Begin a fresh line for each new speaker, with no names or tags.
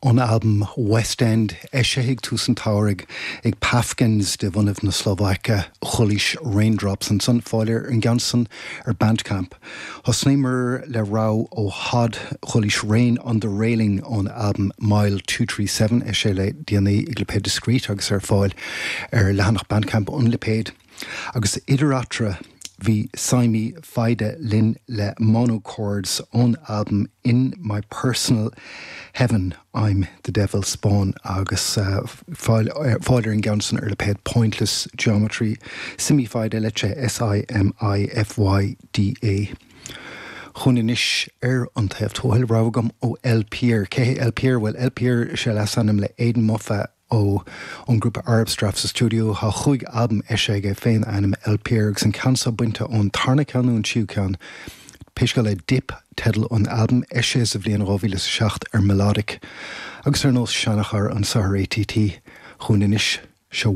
Ón albam West End, eisithe ag tús an tsamhraidh ag Pafkins de bhunaibh na Slóvaice, Chualaís Raindrops ansan, fáil ar an gceann san ar Bandcamp. Thosnaíomar le rogha ó Hod, Chualaís Rain on the Railing ón albam Mile 237, eisithe le déanaí ag lipéad Discreet agus ar fáil ar leathanach Bandcamp an lipéid. Agus idir eatarthu, bhí Simi Fayda linn le Monochords ón albam In My Personal Heaven, I'm the Devil's Spawn agus fáil ar an gceann san ar lipéad Pointless Geometry. Simi Fayda litrithe S-I-M-I-F-Y-D-A. Chugainn anois ar an taobh tuathail, rogha agam ó LPeer. Cé hé LPeer? Bhuel, LPeer is é leasainm le Aidan Moffa, ó ón ngrúpa Arab Strap sa stiúideo. Tá chúig albam eisithe aige fén ainm LPeer agus an ceann seo bainte ón tarna ceann nó an tríú ceann, pé scéal é Dip teideal an albaim, eisithe sa bhliain 2007 ar Melodic. Agus ar nós seanchara anseo ar ATT, chugainn anois, seo.